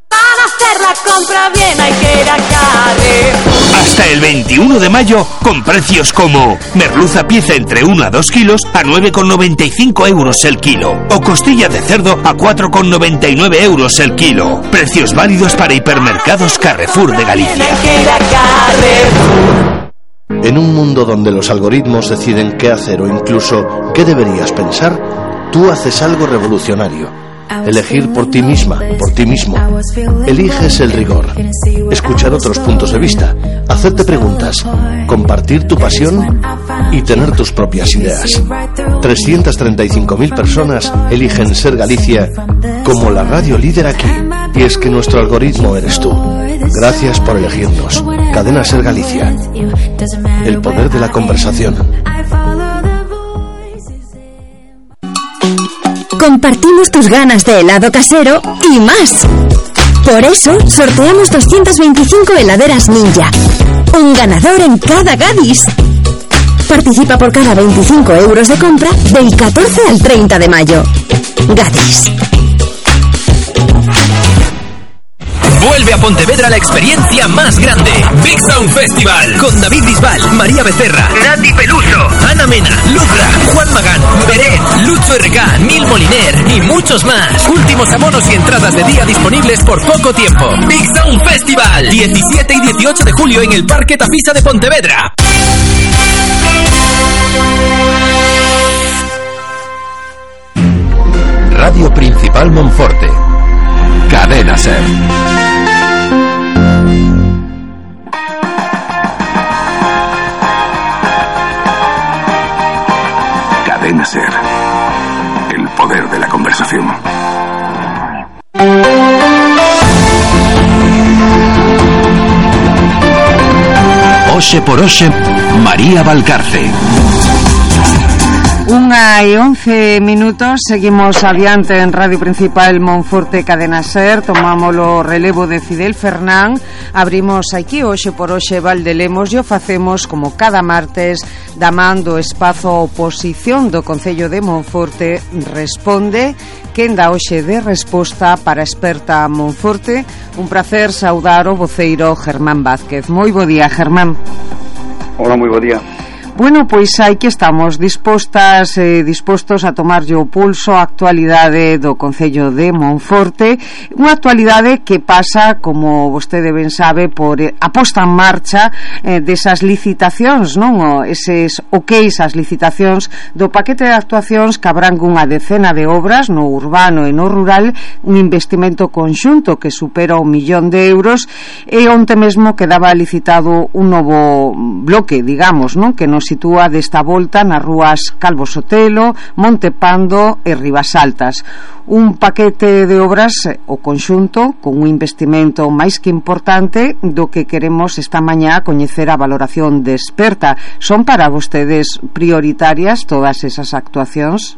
Para hacer la compra bien hay que ir a Carrefour. Hasta el 21 de mayo, con precios como merluza pieza entre 1 a 2 kilos a 9,95 € el kilo, o costilla de cerdo a 4,99 € el kilo. Precios válidos para hipermercados Carrefour de Galicia. En un mundo donde los algoritmos deciden qué hacer o incluso qué deberías pensar, tú haces algo revolucionario. Elegir por ti misma, por ti mismo. Eliges el rigor, escuchar otros puntos de vista, hacerte preguntas, compartir tu pasión y tener tus propias ideas. 335.000 personas eligen Ser Galicia como la radio líder aquí. Y es que nuestro algoritmo eres tú. Gracias por elegirnos. Cadena Ser Galicia. El poder de la conversación. Compartimos tus ganas de helado casero y más. Por eso, sorteamos 225 heladeras Ninja. Un ganador en cada Gadis. Participa por cada 25 € de compra del 14 al 30 de mayo. Gadis. Vuelve a Pontevedra la experiencia más grande. Big Sound Festival. Con David Bisbal, María Becerra, Nati Peluso, Ana Mena, Lucra, Juan Magán, Beret, Lucho RK, Nil Moliner y muchos más. Últimos abonos y entradas de día disponibles por poco tiempo. Big Sound Festival. 17 y 18 de julio en el Parque Tafisa de Pontevedra. Radio Principal Monforte. Cadena Ser. Cadena Ser. El poder de la conversación. Oxe por Oxe, María Valcarce. 1:11, seguimos adiante en Radio Principal Monforte Cadena Ser. Tomamos o relevo de Fidel Fernán. Abrimos aquí Hoxe por Hoxe Valdelemos e o facemos como cada martes da man do espazo oposición do Concello de Monforte Responde, quen dá hoxe de resposta para Experta Monforte. Un placer saudar o voceiro Germán Vázquez. Moi bo día, Germán. Hola, moi bo día. Bueno, pois aí que estamos dispostos a tomarlle o pulso a actualidade do Concello de Monforte, unha actualidade que pasa, como vostede ben sabe, por a posta en marcha desas licitacións, non? Eses okeis as licitacións do paquete de actuacións que abrangue unha decena de obras no urbano e no rural, un investimento conxunto que supera €1 millón, e onte mesmo quedaba licitado un novo bloque, digamos, non? Que non nos sitúa desta volta nas rúas Calvo Sotelo, Monte Pando e Ribasaltas. Un paquete de obras, o conxunto, con un investimento máis que importante do que queremos esta mañá coñecer a valoración de experta. Son para vostedes prioritarias todas esas actuacións?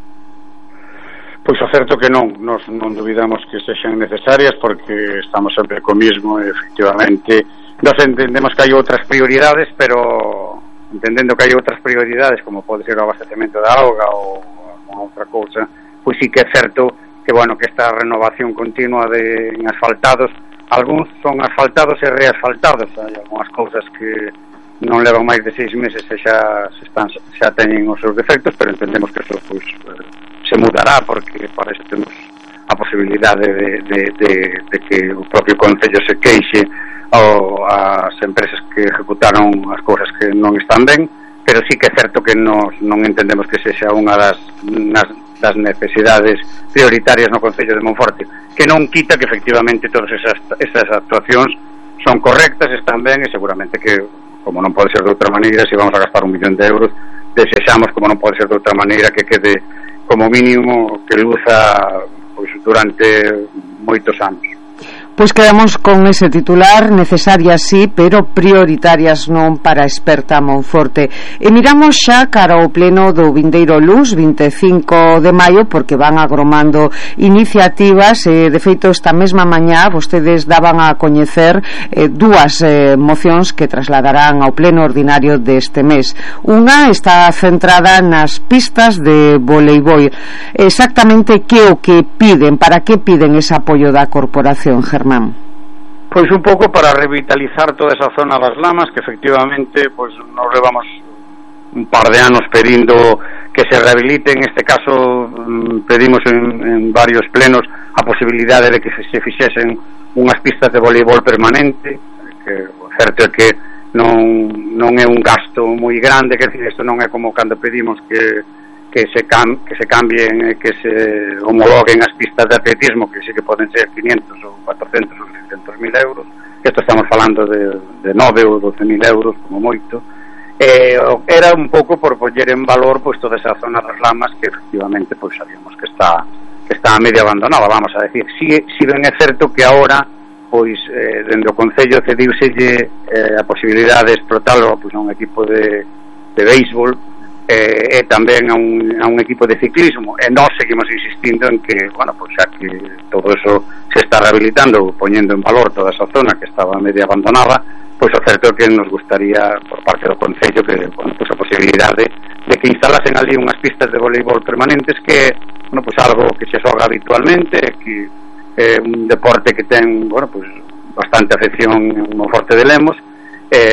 Pois o certo que non, nos non dubidamos que sexan necesarias porque estamos sempre co mismo e efectivamente nos entendemos que hai outras prioridades, pero entendendo que hai outras prioridades como pode ser o abastecemento da auga ou outra cousa, pois sí que é certo que, bueno, que esta renovación continua en asfaltados, algúns son asfaltados e reasfaltados, hai algunhas cousas que non levan máis de 6 meses e xa teñen os seus defectos, pero entendemos que eso pois, se mudará, porque para isto temos a posibilidade de que o propio Concello se queixe ás empresas que ejecutaron as cousas que non están ben, pero sí que é certo que non entendemos que sexa unha das necesidades prioritarias no Concello de Monforte, que non quita que efectivamente todas esas actuacións son correctas, están ben, e seguramente que, como non pode ser de outra maneira, se vamos a gastar 1 millón de euros, desexamos, como non pode ser de outra maneira, que quede como mínimo que luza pois, durante moitos anos. Pois quedamos con ese titular, necesarias sí, pero prioritarias non para a experta Monforte. E miramos xa cara ao pleno do vindeiro luns, 25 de maio, porque van agromando iniciativas, e de feito esta mesma mañá vostedes daban a coñecer dúas mocións que trasladarán ao pleno ordinario deste mes. Unha está centrada nas pistas de voleibol. Exactamente que o que piden, para que piden ese apoio da corporación, Germán? Pois un pouco para revitalizar toda esa zona das Lamas, que efectivamente pois nos levamos un par de anos pedindo que se rehabilite. En este caso pedimos en varios plenos a posibilidade de que se fixesen unhas pistas de voleibol permanente, que o certo é que non é un gasto moi grande, que decir, isto non é como cando pedimos que se cambien, que se homologuen as pistas de atletismo, que sí que poden ser 500 ou 400 ou 600 mil euros. Isto estamos falando de 9 ou 12 mil euros como moito. Era un pouco por poñer en valor pois toda esa zona das Lamas, que efectivamente pois sabíamos que está medio abandonada, vamos a decir. Si ben é certo que agora pois dende o Concello cediuselle a posibilidade de explotarlo pois a un equipo de béisbol, e tamén a un equipo de ciclismo, e nós seguimos insistindo en que, bueno, pues xa que todo eso se está rehabilitando, poñendo en valor toda esa zona que estaba medio abandonada, pois o certo é que nos gustaría por parte do Concello que, bueno, pues a posibilidade de que instalasen ali unhas pistas de voleibol permanentes, que, bueno, pues algo que se xoga habitualmente, que é un deporte que ten, bueno, pues bastante afección en Monforte de Lemos.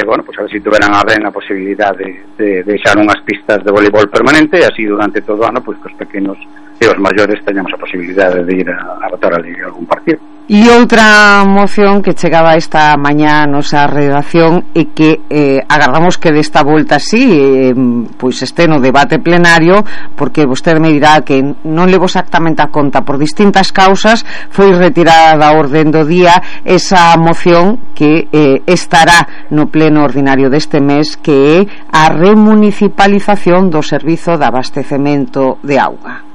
Bueno, pues a ver si tuveran a ben a posibilidade de deixar unhas pistas de voleibol permanente, e así durante todo o ano pois que os pequenos e os maiores teñamos a posibilidade de ir a botar ali algún partido. E outra moción que chegaba esta mañá a nosa redacción e que agardamos que desta volta sí pois este no debate plenario, porque vostede me dirá que non levo exactamente a conta por distintas causas, foi retirada da orden do día esa moción que estará no pleno ordinario deste mes, que é a remunicipalización do servizo de abastecemento de auga.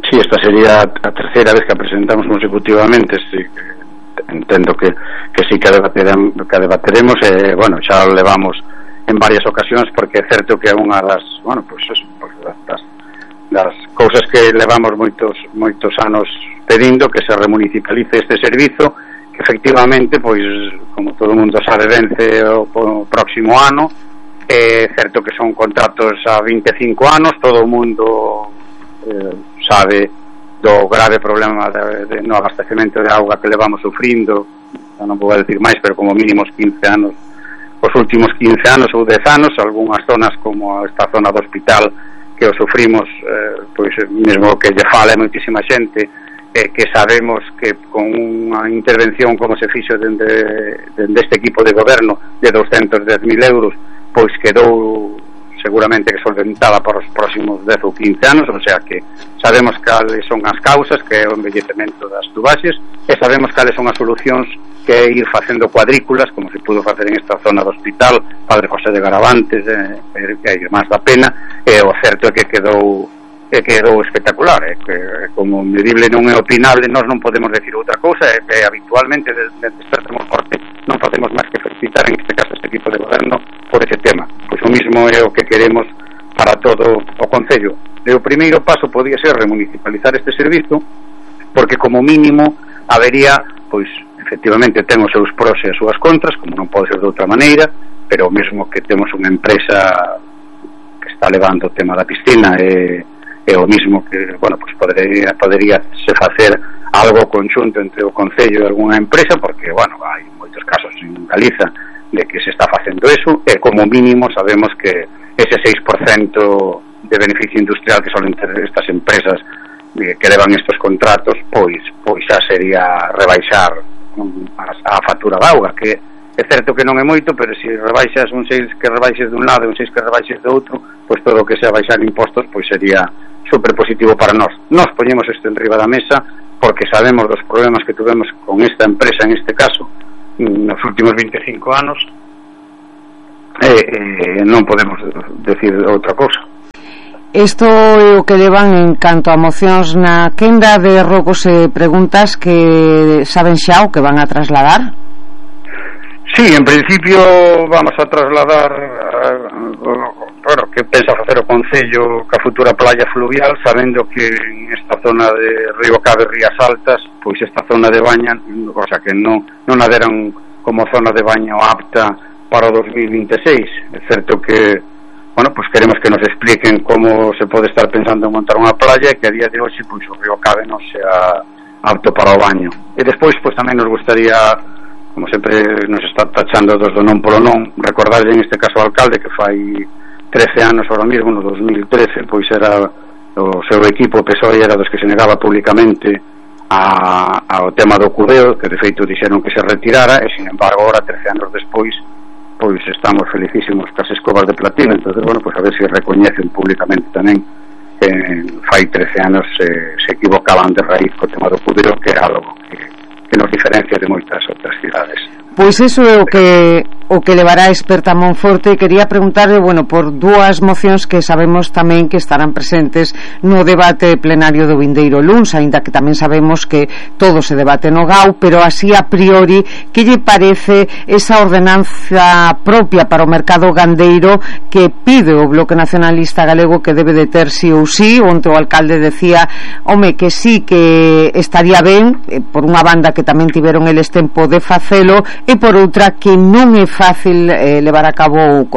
Sí, esta sería a terceira vez que a presentamos consecutivamente. Sí, entendo que sí que debateremos, bueno, xa lo levamos en varias ocasións, porque é certo que é unha das, bueno, pues das cousas que levamos moitos anos pedindo, que se remunicipalice este servizo, que efectivamente, pois, como todo o mundo sabe, vence o próximo ano. É certo que son contratos a 25 anos, todo o mundo sabe do grave problema de no abastecemento de auga que levamos sufrindo, non vou decir máis, pero como mínimo 15 anos, os últimos 15 anos ou 10 anos, algunhas zonas como esta zona do hospital que o sufrimos, pois mesmo que lle fala moitísima xente, que sabemos que con unha intervención como se fixo dende este equipo de goberno de 210.000 euros, pois quedou seguramente que solventada para os próximos 10 ou 15 anos, o sea que sabemos cales son as causas, que é o envellecemento das tubaxes, e sabemos cales son as solucións, que é ir facendo cuadrículas, como se pudo facer en esta zona do hospital Padre José de Garavantes, que hai máis da pena, e o certo é que quedou espectacular, que como medible non é opinable, nós non podemos decir outra cousa, é que habitualmente desde Expertos en Monforte non podemos máis que felicitar en este caso este equipo de goberno por ese tema, pois o mismo é o que queremos para todo o Concello. E o primeiro paso podía ser remunicipalizar este servizo, porque como mínimo habería, pois efectivamente ten os seus pros e as súas contras, como non pode ser de outra maneira, pero mesmo que temos unha empresa que está levando o tema da piscina e o mismo que, bueno, pues podería se facer algo conxunto entre o Concello e algunha empresa, porque, bueno, hai moitos casos en Galiza de que se está facendo eso, e como mínimo sabemos que ese 6% de beneficio industrial que solen ter estas empresas que levan estos contratos, pois xa sería rebaixar a factura da auga, que é certo que non é moito, pero se rebaixas un 6 que rebaixes dun lado e un 6 que rebaixes do outro, pois todo o que sea baixar impostos pois sería super positivo para nós. Nós poñemos isto en riba da mesa porque sabemos dos problemas que tuvemos con esta empresa, en este caso nos últimos 25 anos, non podemos decir outra cousa. Isto é o que levan en canto a mocións na quenda de rogos e preguntas, que saben xa o que van a trasladar? Sí, en principio vamos a trasladar que pensa facer o Concello ca futura playa fluvial, sabendo que en esta zona de Río Cabe, Rías Altas, pois esta zona de baña, o sea que non a deran como zona de baño apta para o 2026. É certo que, bueno, pues queremos que nos expliquen como se pode estar pensando en montar unha playa e que a día de hoxe pois o Río Cabe non sea apto para o baño. E despois pois tamén nos gustaría, como sempre nos está tachando dos do non polo non, recordarlle en este caso ao alcalde que fai 13 anos ahora mismo, no 2013, pois era o seu equipo, o PSOE, era dos que se negaba públicamente ao tema do cudeo, que de feito dixeron que se retirara, e sin embargo ahora 13 anos despois pois estamos felicísimos cas escobas de platino. Entonces, bueno, pues a ver se recoñecen públicamente tamén que fai 13 anos se equivocaban de raíz co tema do cudeo, que é algo que nos diferencia de moitas outras cidades. Pois iso é o que levará a Experta Monforte. Quería preguntarle, bueno, por dúas mocións que sabemos tamén que estarán presentes no debate plenario do vindeiro luns, aínda que tamén sabemos que todo se debate no GAU, pero así a priori, que lle parece esa ordenanza propia para o mercado gandeiro que pide o Bloque Nacionalista Galego que debe de ter sí ou sí? Onte o alcalde decía, home, que sí que estaría ben, por unha banda que tamén tiveron eles tempo de facelo, e por outra que non é fácil levar a cabo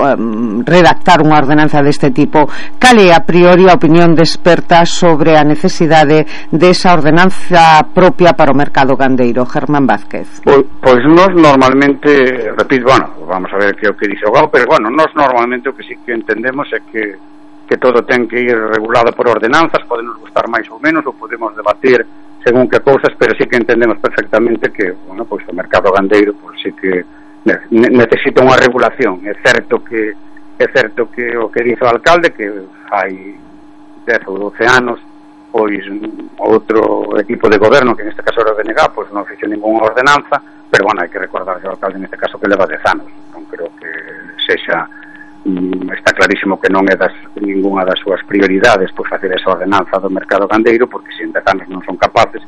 redactar unha ordenanza deste tipo. Cal é a priori a opinión de Experta sobre a necesidade desa ordenanza propia para o mercado gandeiro? Germán Vázquez. Pois nós normalmente, repito, bueno, vamos a ver que é o que dice o GAU, pero bueno, nós normalmente o que sí que entendemos é que todo ten que ir regulado por ordenanzas, podemos gustar máis ou menos, ou podemos debatir según que cousas, pero sí que entendemos perfectamente que, bueno, pois o mercado gandeiro pois sí que necesita unha regulación. É certo que o que dice o alcalde, que fai 10 ou 12 anos pois outro equipo de goberno, que neste caso era o BNG, pois non fixo ninguna ordenanza, pero bueno, hai que recordar ao alcalde neste caso que leva 10 anos, non creo que sexa, está clarísimo que non é ninguna das súas prioridades pois facer esa ordenanza do mercado gandeiro, porque se en 10 anos non son capaces,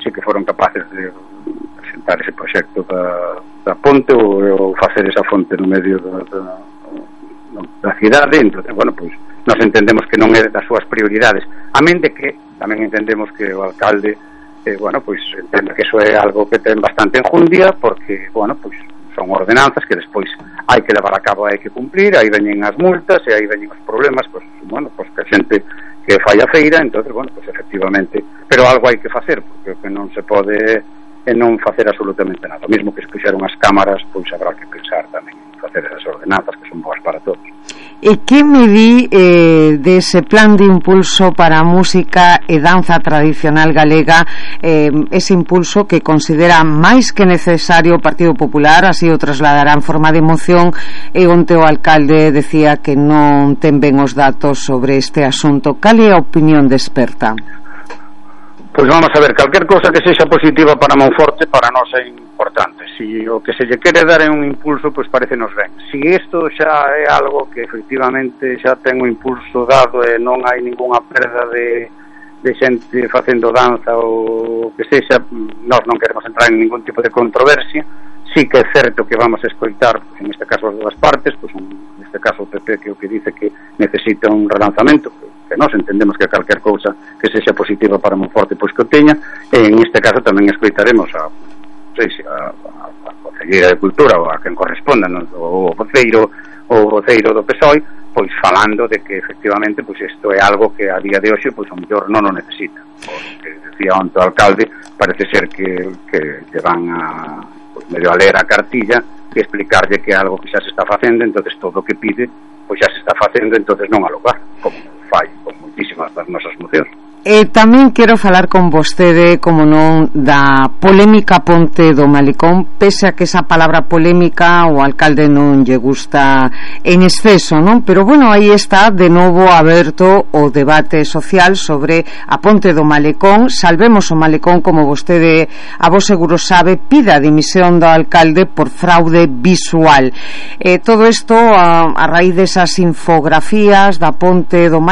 sí que foron capaces de presentar ese proxecto da ponte ou facer esa fonte no medio da cidade. Entonces, bueno, pois nos entendemos que non é das súas prioridades, a mente que tamén entendemos que o alcalde bueno, pois entende que eso é algo que ten bastante enjundia, porque, bueno, pois son ordenanzas que despois hai que levar a cabo, hai que cumplir, aí veñen as multas e aí veñen os problemas, pois, bueno, pois que a xente que fai a feira. Entonces, bueno, pois efectivamente, pero algo hai que facer, porque o que non se pode é non facer absolutamente nada. O mesmo que se puxeron as cámaras, pois habrá que pensar tamén en facer esas ordenanzas que son boas para todos. E que me di dese plan de impulso para a música e danza tradicional galega, ese impulso que considera máis que necesario o Partido Popular, así o trasladará en forma de moción, e onte o alcalde decía que non ten ben os datos sobre este asunto. Cal é a opinión de experta? Pois vamos a ver, calquer cousa que sexa positiva para Monforte para nós é importante. Si o que se lle quere dar é un impulso, pois parecenos ben. Si isto xa é algo que efectivamente xa ten un impulso dado e non hai ningunha perda de xente facendo danza ou que sexa, nós non queremos entrar en ningún tipo de controversia. Sí que é certo que vamos a escoitar, en este caso as dúas partes, pois en este caso o PP que o que dice que necesita un relanzamento, que nós entendemos que calquer cousa que sexa positiva para Monforte pois que o teña, e en este caso tamén escoitaremos a Conselleira de Cultura ou a quen corresponda, non? o voceiro do PSOE, pois falando de que efectivamente pois isto é algo que a día de hoxe pois o mellor non o necesita. Porque decía onte o alcalde, parece ser que van a pois medio a ler a cartilla e explicarlle que é algo que xa se está facendo, entonces todo o que pide pois xa se está facendo, entonces non ao lugar, como fai con moitísimas das nosas mocións. Tamén quero falar con vostede, como non, da polémica Ponte do Malecón, pese a que esa palabra polémica o alcalde non lle gusta en exceso, non? Pero bueno, aí está de novo aberto o debate social sobre a Ponte do Malecón. Salvemos o Malecón, como vostede a vos seguro sabe, pida a dimisión do alcalde por fraude visual. Todo isto a raíz desas infografías da Ponte do Malecón